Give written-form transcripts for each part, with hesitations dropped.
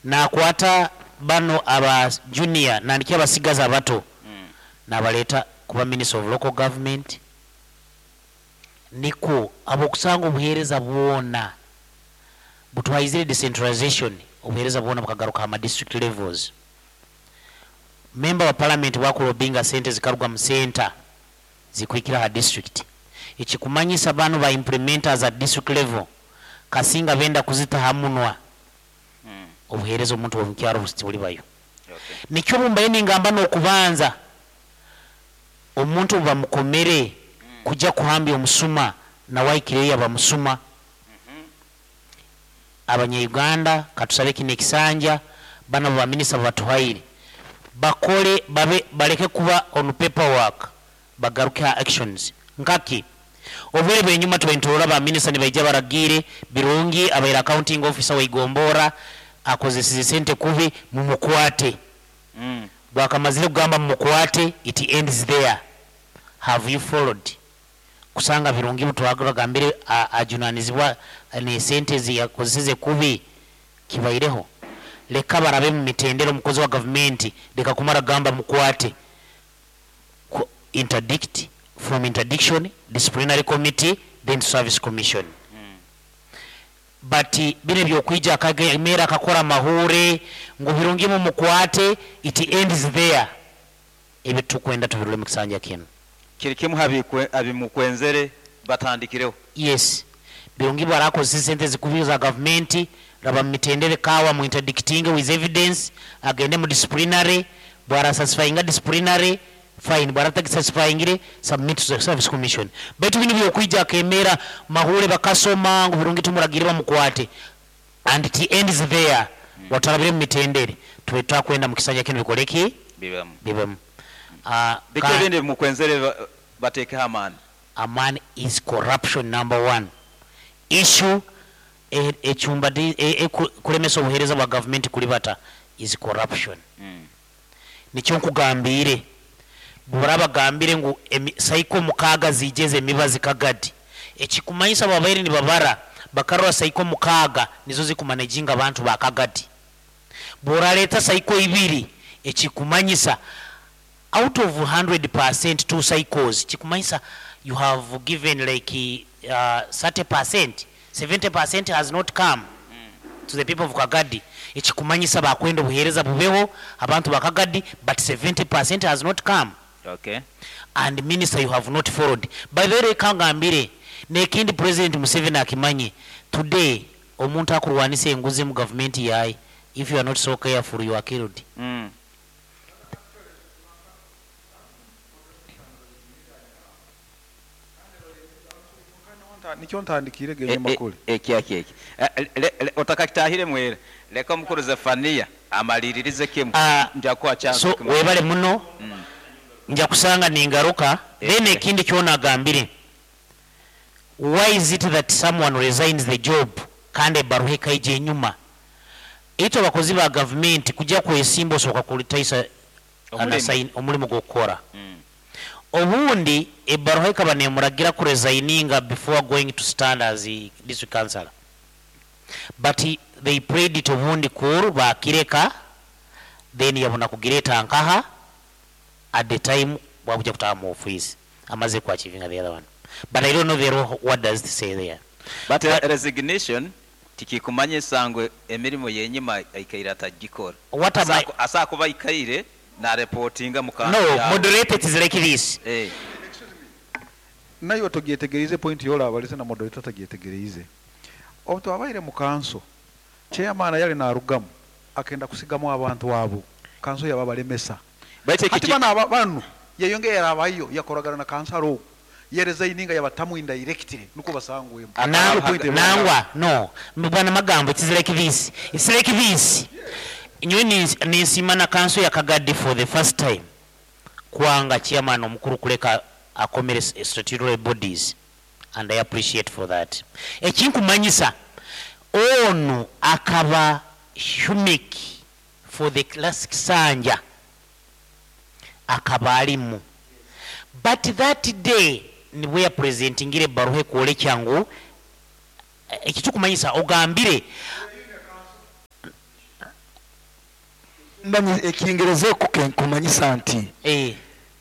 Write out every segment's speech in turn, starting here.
Nakwata bano aba junior nandiki abasigazi abato nabaleta kuba minister of local government nikwo abokusanga obuhereza bwona butwaizire decentralization obuhereza bwona bukagaruka aha ma district levels. Member wa parliament bwakulobinga sente zikaruga mu center zikuhikira aha district ekikumanyisa banu ba implementers at district level kasinga benda kuzita aha munwa obuhereza omuntu womukyaro tiburibayo. Nikyo obu mbaire ningamba nokubanza omuntu obubamukomere kugya kuhambya omusuma nawe ahikireyo yaba musuma. Abanya Uganda katusabe kinu ekisanja banu abo ba minister bubatuhaire bakole babe baleke kuba on paper work bagaruke aha actions. Nkaki? Obwire bwenyuma tubaire niturora ba minister nibaija baragiire Birungi abaire accounting officer wa Igomboora akozesize sente kubi mumukwate. Bwakamazire kugamba mumukwate it ends there. Have you followed? Kusanga Birungi butwagambire ajunanizibwa nesente eziyakozeseze kubi kibaireho? Leka barabe mumitendera omukozi wa gavumenti leka kumara kugamba mukwate. Interdict, from interdiction, disciplinary committee then service commission. But binu ebyokwija akagemera akakora amahuure ngu Birungi mumukwate it ends there. Ebyo titukwenda tubirole mukisanja kinu. Kiri kimu ha bimukwenzere batandikireho. Yes Birungi bwarakozesa esente zikubi za gavumenti raba mumitendera kawa mu interdictinge with evidence agende mu disciplinary bwara satisfyinga disciplinary fine bwara atagisatisfyingire submit to the service commission baitu binu byokwija akemera mahure bakasoma ngu Birungi tumuragire bamukwate and it ends there watarabire mumitendere tube tutakwenda mukisanja kinu bikoreki Bibemu. Bibemu. Biki ebindi ebimukwenzere batekeho amaani? Amaani is corruption number one issue ecumba ekulemesa obuhereza bwa gavumenti kulibata is corruption. Nikyo nkugambiire bwobarabagambire ngu cycle mukaaga ziije ez'emibazi Kagadi ekikumanyisa babaire nibabara bakarora cycle mukaaga nizo zikumanejinga abantu ba Kagadi. Bworareta cycle ibiri ekikumanyisa out of 100% two cycles kikumanyisa you have given like 30%, 70% has not come to the people of Kagadi ekikumanyisa bakwenda obuhereza bubeho abantu ba Kagadi but 70% has not come. Okay. And minister you have not followed. By the way reka ngambire nekindi president Museveni akimanye today omuntu akurwanisa enguzi mu gavumenti yaye if you are not so careful you are killed. Nikyo ntandikiire g'enyima kuri. Eki eki. Otakakitahiremu era, leka omukuru Zefania amaliririze kimu. Nja kukuha chance So okimanya. webale muno, nja kusanga ningaruka. Then ekindi kyona agambire, why is it that someone resigns the job kandi ebaruha ekaija enyuma? Itwe abakozi ba gavumenti kujya kwesimba osooka kulitaisa Omurimo. omurimo gw'okukora. Obundi ebaruha ekaba nemuragira kuresigninga before going to stand as a district councillor. But they prayed it obundi kuru bakireka then yabona kugireta nkaha at the time bwakuja kutaha mu office amaze ku achieving the other one. But I don't know the law, what does it say there. But But resignation tikikumanyisa ngu emirimo yenyima aikaire atagikora. What am I Asa kuba aikaire na reportinga mu No, kambi yawe. moderate it is like this. Nayo togyetegerize point yola abalize na moderator tagyetegerize. Obu twabaire mu kanso, chairman yali narugamu akenda kusigamu abantu abo. Kanso yababalemesa. Baitu Hati bano aba banu yeyongera abayo yakoragana na kansaro. Yeresigninga yabatamu indirectly nuko basangwemo. Nangwa no bwana magambo it is like this. It's like this. Nyowe ninsima na kanso ya Kagadi for the first time. Kwanga chairman omukuru kuleka akomere statutory bodies and I appreciate for that. Ekinkumanyisa onu akaba humik for the last kisanja akaba alimu. But that day nibwe ya presentingire baruhe kwolekya ngu ekitukumanyisa ogambire Manya ekingereza kumanyisa nti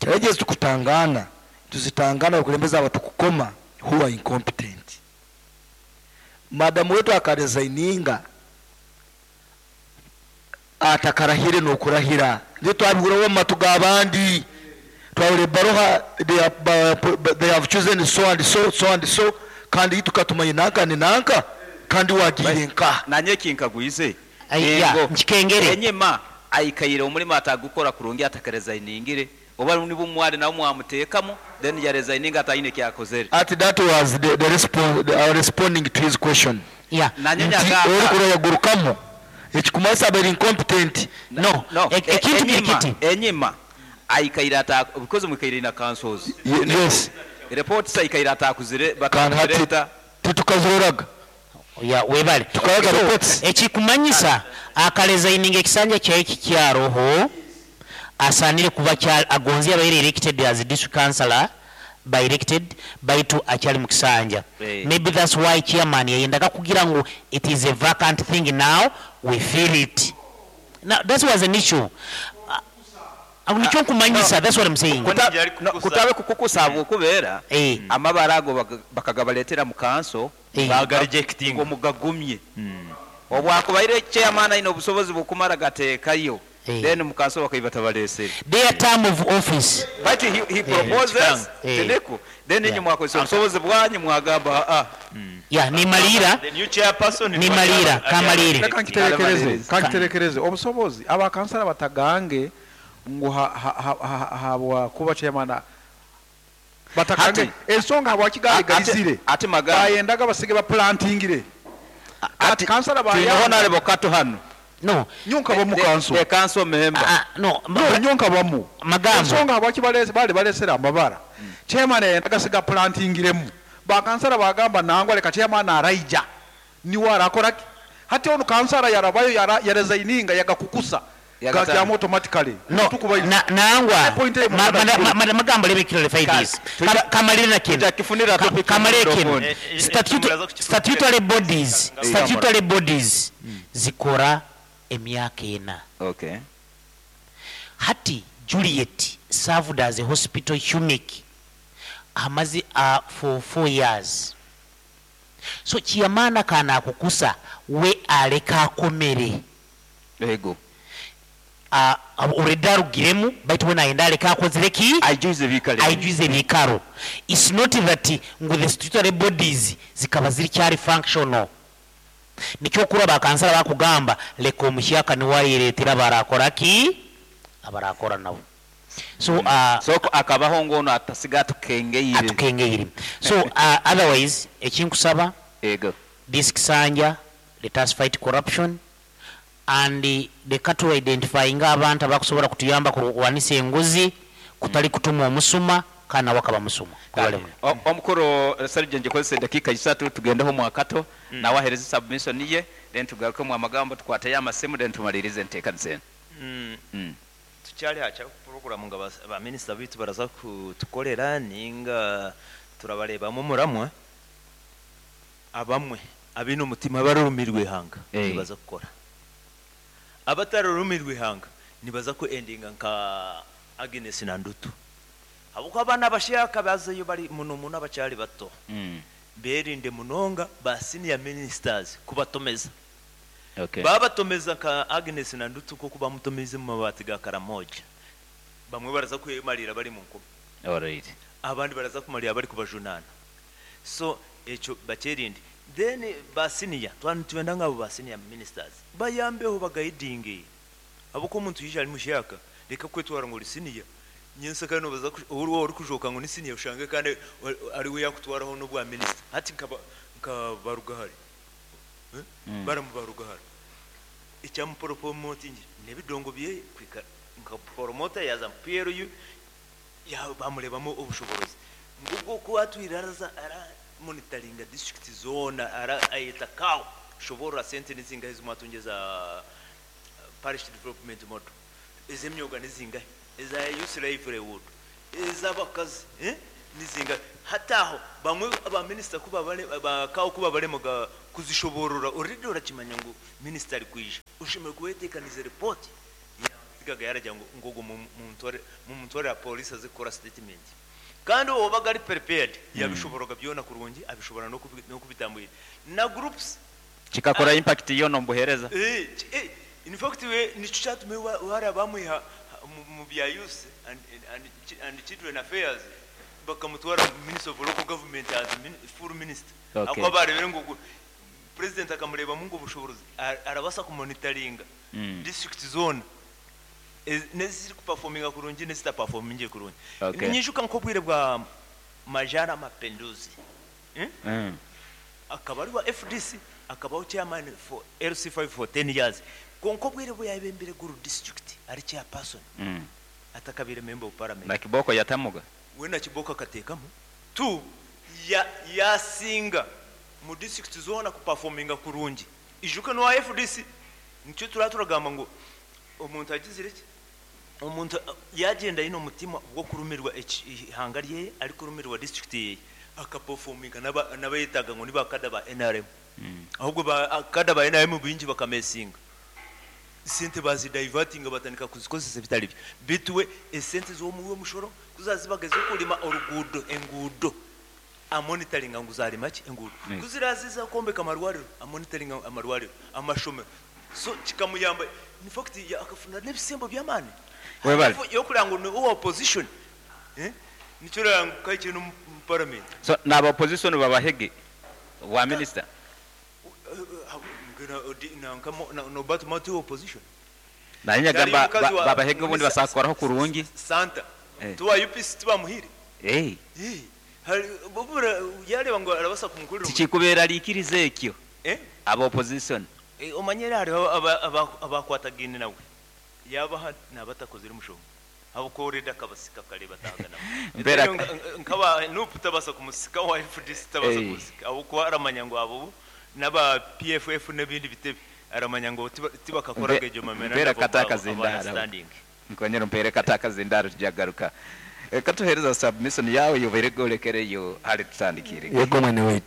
challenges tukutangana tuzitangana abakulembeze abatukukoma who are incompetent. Madamu wetu akaresigninga atakarahire n'okurahira, ndio twabihuraho omu matu g'abandi, twahura ebaruha they have chosen so and so, so and so, kandi tukatumanya nanka ni nanka, kandi wagiire nka Nanye ekinkagwize Ai, ya, engo nkikengere. Enyima aikaire omurimo atagukora kurungi atakaresigningira, oba nibo mwari nabo mwamuteekamu, then yaresigninga atayine kyakozere. Ati that was the response, our responding to his question. Nanye Nti nyagamba. orikura yagurukamu ekikumanyisa abari incompetent. No. No. Ekintu kiri kiti. Enyima aikaire ata because mwikaire na councils. Yes. Reports aikaire atakuzire Kandi hati batakuzireta. titukaziroraga. Ya, webale. Tukayaga So, reports. ekikumanyisa akaresigninga ekisanja kyaye kikyaroho, asanire kuba kya agonzi abaire elected as district councillor by elected baitu akyali mu kisanja. Maybe that's why chairman yayendaga kugira ngu it is a vacant thing now, we feel it. Now that was an issue. Nikyo nkumanyisa, that's what I'm saying. No, kutabe kukukusa okubeera amabara ago bakagabaletera mu kanso, Baga rejecting. Ngo mugagumye. Obwakubaire chairman ayina obusobozi bukumara gateekayo. Then mu kanso bakaiba tabalesere. Their term of office. But he proposes, Teneko. Then inyu mwakozesa obusobozi bwanyu mwagamba, ah. Ya, ni malira. The new chairperson Ni malira, kamalire. Reka nkiterekereze, kankiterekereze obusobozi abakansala batagange ngu habwa kuba chairman batagange ensonga habwa kigali galizire. Ati magamba. Bayendaga basige ba plantingire. Ati kansala ba Tuine honorable Kato hano. No. Nyonka bamu kanso. The council member. No, No, nyonka bamu. Magambo. Ensonga habwa kibalese bali balesera amabara. Chairman yendaga siga plantingiremu. Ba kansala bagamba nangwa leka chairman araija. Niwe arakora ki? Hati ono kansala yarabayo yaresigninga yagakukusa. Yagatanga. Gajyamu automatically. No, Tukubayiza. nangwa. Point emu mwana Magambo let me clarify this. Kamalire na kino. Tujakifunira topic Kamalire microphone. kino. Statutory bodies, statutory bodies zikora emyaka ena. Hati Juliet served as a hospital humic amaze for 4 years. So chairman kana akukusa we aleka akomere. Ego. Already arugiremu baitu we naenda aleka akozire ki? Aijuze bikalo. Aijuze bikalo. It's not that ngu the statutory bodies zikaba ziri kyali functional. Nikyo kura bakansala bakugamba leka omushyaka niwayiretera barakora ki? Abarakora nabo. So, So akabaho ngono atasiga atukengeire. Atukengeire. So, otherwise ekinkusaba Ego. This kisanja let us fight corruption and the cattle identifying abantu abakusobola kutuyamba kulwanisa enguzi kutali kutuma omusuma kana wakaba musuma. Kale. Omukuru Sergeant ngikozesa eddakiika isatu tugendeho mwakato, nawe ahereze submission ye, then tugarukemu amagambo tukwateyo amasimu, then tumalirize enteekaniza eno. Tukyali hakya program nga ba minister bitu baraza kutukolera ninga turabarebamu muramwe abamwe abino mutima barumirwe ihanga nibaza gukora, abatarumirwe ihanga nibaza ku endinga nka Agnes na Ndutu, abuko abana bashaka bazeyo bari muno muno abacyari bato. Berinde munonga ba senior ministers kubatomeza. Babatomeza nka Agnes na Ndutu kuko bamutomeze mu mabati ga Karamoja, bamwe baraza kwemarira bari mu nkumi. Abandi baraza kumarira bari kubajunana. So echo bakerinde. Then ba senior twenda ngabo ba senior ministers bayambeho bagayidinge, abuko omuntu yije ari mushaka reka kwetwara ngo uri senior nyense kandi baza uri uri kujoka ngo ni senior ushange kandi ari we yakutwaraho no bwa minister hati nkabarugahari. Baramubarugahari icyamupromoting nebidongo bye kwika nka promoter yaza PLU ya bamurebamo ubushobozi ngubwo ko atwiraraza ara monitoringa district zone ara ayita kawo shobora sente nizingahe z'umwatungeza parish development model ez'emyoga nizingahe eza youth livelihood ez'abakazi nizingahe hataho bamwe aba minister kuba bare ba kawo kuba bare muga kuzishoborora already urakimanya ngo minister ari kwija ushimwe kuwetekaniza report ya Yasitikaga yaragira ngu ngu ogu mumutware mumutwarire aha police aze kukora statement. Kandi owabaga ari prepared yabishoboroga byona kurungi abishobora n'okubitambwira. Na groups. Kikakora impact yoona omu buheereza. Eh, eh, in fact we nikyo kyatuma hariya bamwiha mu bya youth and and children affairs bakamutwara mu ministry of local government as full minister. Okay. Ahakuba barebire ngu ogu president akamurebamu ngu obushoborozi arabasa ku monitoringa district zoona n'eziri ku performinga kurungi n'ezita performingire kurungi. Okay. Ninyijuka nk'obwire bwa Majara Mapenduzi akaba ari wa FDC akabaho chairman for LC5 for 10 years kwonka obwire obu yayebembire Gulu district ari chairperson atakabaire member of parliament. Na Kiboko yatamuga. We na Kiboko akateekamu tu ya yasinga mu district zoona ku performinga kurungi. Ijuka n'owa FDC nikyo turaba turagamba ngu omuntu agizire ki? Omuntu yagyenda aine omutima gw'okurumirwa eihanga ryeye, arikurumirwa disiturikiti yeye, akapofominga n'abayetaaga ngu ni ba kada ba nrm. Ahabwe ba kada ba nrm baingi bakamesinga. Sente bazidayivatinga batandika kuzikozesa ebitari byo. Beitu we esente z'omuwi w'omushoro ku zaazibaga ez'okurima oruguudo, enguudo, amonitaringa ngu zaarima ki? Enguudo. Ku ziraaze ez'okwombeka amarwariro, amonitaringa amarwariro, amashomero. So kikamuyamba in fact akafuna n'ebisembo by'amaani. Webale. Y'okureba ngu ni owa opposition nikyo orareba ngu kahikire n'omu parliament. So naaba opposition babahege obwa minister? Nanka Norbert Mao ti opposition? Naanye nyagamba babahege obundi basobola kukoraho kurungi. Santa ti owa UPC tibamuhaire? Yareeba ngu arabaasa kumukurira omurimo. Tikikuberarikiriza ekyo aba opposition. Omanyire hariho abakwatagaine nawe yabaha naba atakozire mushonga ahabw'okuba already akabasika kare bataaga nabo. Nk'aba nup tabaasa kumusika owa FDC tabaasa kumusika ahabw'okuba aramanya ngu abo bo n'aba PFF n'ebindi bitebe aramanya ngu tibakakoraga egyo Mpeera memorandum kata of akazindaaro. understanding. Nkonyera ompeere kata akazindaaro tugya kugaruka. Katuheereza submission yaawe ei obaire orekereyo hare tutandikire. Yego mwene waitu.